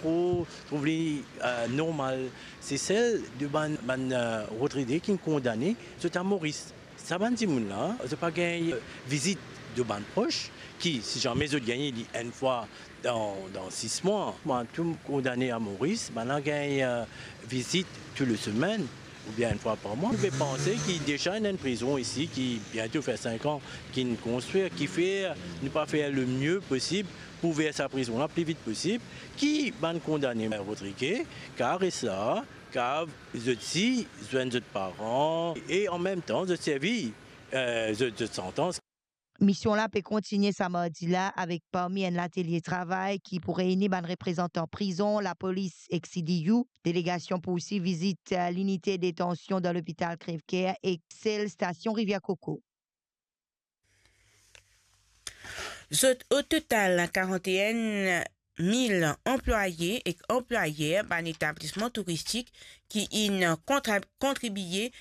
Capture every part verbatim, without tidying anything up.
Pou trouv li, eh, normal, se sel de bann, bann, eh, Rodrige ki'nn kondane, zot a Moris. Sa bann dimoun la, zot pa gagn, eh, vizit de bann pros, ki, si zame zot gagn li enn fwa dan, dan sis mwa, bann tou kondane a Moris, bann la gagn, eh, vizit tou le semenn, oubien enn fwa par mwa. Nou pe panse ki deza ena enn prizon isi ki biento fer sink an ki'nn konstrir, kifer nou pa fer le mie posib pou ouver sa prizon la pli vit posib, ki bann kondane Rodrige kav res la, kav zot si zwenn zot paran e an mem tan zot servi, eh, zot, zot santans. Mision la pe kontigne sa mardi la avek parmi enn latelie travay ki pou reyni bann reprezantan prizon, lapolis ek C D U. Delegasion pou osi vizit, eh, linite detansion dan lopital Crèvecoeur ek sel stasion Rivière Coco. Zot o total karant-e-enn mil anplwaye ek anplwayer bann etablisman touristik ki inn kontra-, kontribie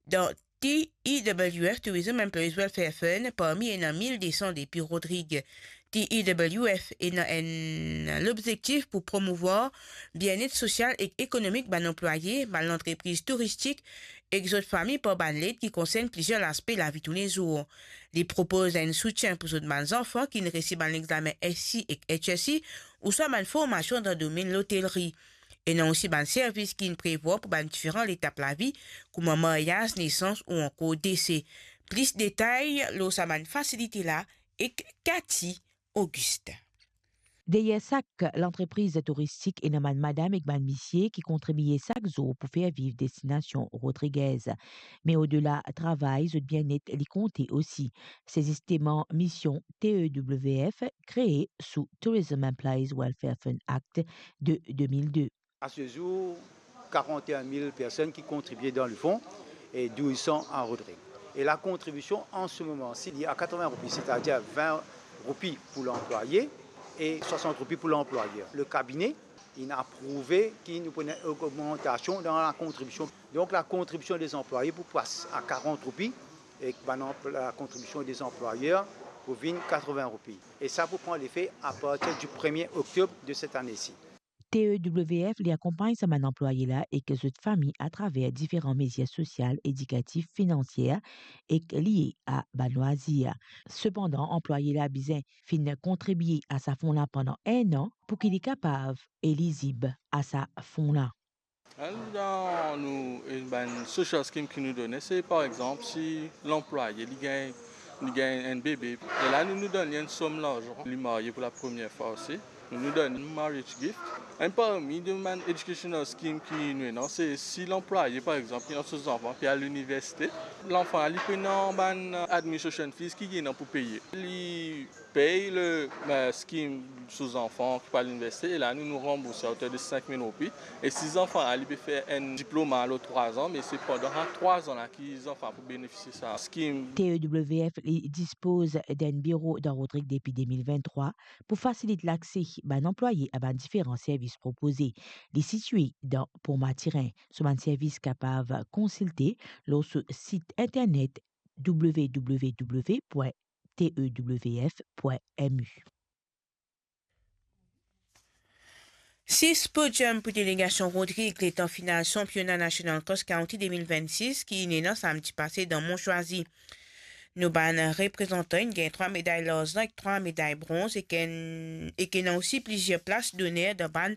dan T E W F, Tourism Employees Welfare Fund, parmi ena mil de san depi Rodrige. T E W F ena enn lobzektif pou promouvwar bienet sosial ek ekonomik bann anplwaye, bann lantrepriz touristik ek zot fami par bann led ki konsern plizier laspe lavi toulezour. Li propoz enn soutien pou zot bann zanfan ki'nn resi bann lexame S C I ek H S C I ouswa bann formasion dan domenn lotelri. Ena osi bann servis ki'nn prevwar pou bann diferan letap lavi, kouma maryaz, nesans ou ankor dese. Plis detay lor sa bann fasilite la ek Cathy Augustin. Deryer sak lantrepriz touristik, ena bann madam ek bann misie ki kontribie sak zour pou fer viv destinasion Rodriguez. Me odela travay, zot bienet li konte osi. Se zisteman mision T E W F, kree sou Tourism Employees Welfare Fund Act de de mil de. À ce jour, quarante et un mille personnes qui contribuaient dans le fonds et douze cents à Rodrigues. Et la contribution en ce moment, s'il y a quatre-vingts roupies, c'est-à-dire vingt roupies pour l'employé et soixante roupies pour l'employeur. Le cabinet, il a approuvé qu'il nous prenait une augmentation dans la contribution. Donc la contribution des employés pour passer à quarante roupies et la contribution des employeurs pour vinn quatre-vingts roupies. Et ça pour prendre l'effet à partir du premier octobre de cette année-ci. T E W F li akonpagn sa bann anplwaye la ek zot fami atraver diferan mezir sosial, edikatif, finansier ek lie a bann lwazir. Sepandan, anplwaye la bizin finn kontribie a sa fon la pandan enn an pou ki li kapav elizib a sa fon la. Enn dan nou, enn bann social scheme ki nou done, se par exanp, si lanplwaye li gagn, li gagn enn bebe, e la nou, nou donn li enn som larzan, li marye pou lapremier fwa osi, nou, nou donn li marriage gift. Enn parmi de bann educational scheme ki nou ena, se si lanplwaye, par exanp, ki ena so zanfan pe al liniversite, lanfan li pena bann administration fees ki li ena pou peye. Li pey le, eh, scheme so zanfan ki pou al liniversite, e la nou, nou ranbourse aoter de sink mil roupi. E si zanfan la, li pe fer enn diploma lor trwa an, me se pandan sa trwa an la ki zanfan pou benefisie sa scheme. T E W F li dispoz d'enn biro dan Rodrigues depi de mil vinn-trwa pou fasilit lakse bann anplwaye a bann diferan servis propoze. Li sitie dan Pont Mathurin. So bann servis kapav konsilte lor so sit internet w w w point t e w f point m u. Sis podium pou delegasion Rodrigues letan final sanpiona nasional Cross Country de mil vennsis ki inn ena samdi pase dan Mont Choisy. Nou bann reprezantan inn gagn trwa meday larzan ek trwa meday bronz ek enn, ek ena osi plizier plas doner dan bann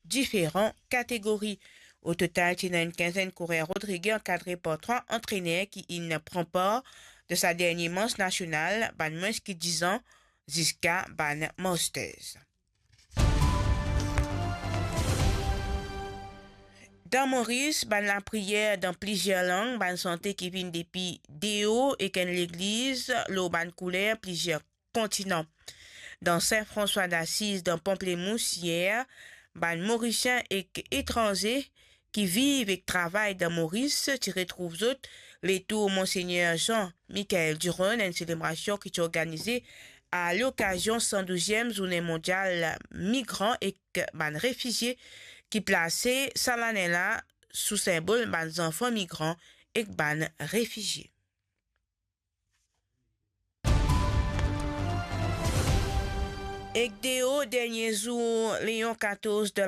diferan kategori. O total, ti ena enn kinzenn kourer Rodrigues ankadre par trwa antrener ki inn pran par dan sa dernie mans nasional, bann mwins ki diz an, ziska bann masters. Dan Moris, bann lapriyer dan plizier lang, bann sante ki vinn depi deor ek enn legliz lor bann kouler plizier kontinan. Dan Saint François d'Assise, dan Pamplemousse, yer, bann Morisien ek etranze ki viv ek travay dan Moris ti retrouv zot letour Monsegner Jean Michael Duron, enn selebrasion ki ti organize a lokazion san douziem Zourne Mondial Migran ek bann Refizie ki plase sa lane la sou sinbol bann zanfan migran ek bann refizie. Ek deor dernie zour Léon katorz dan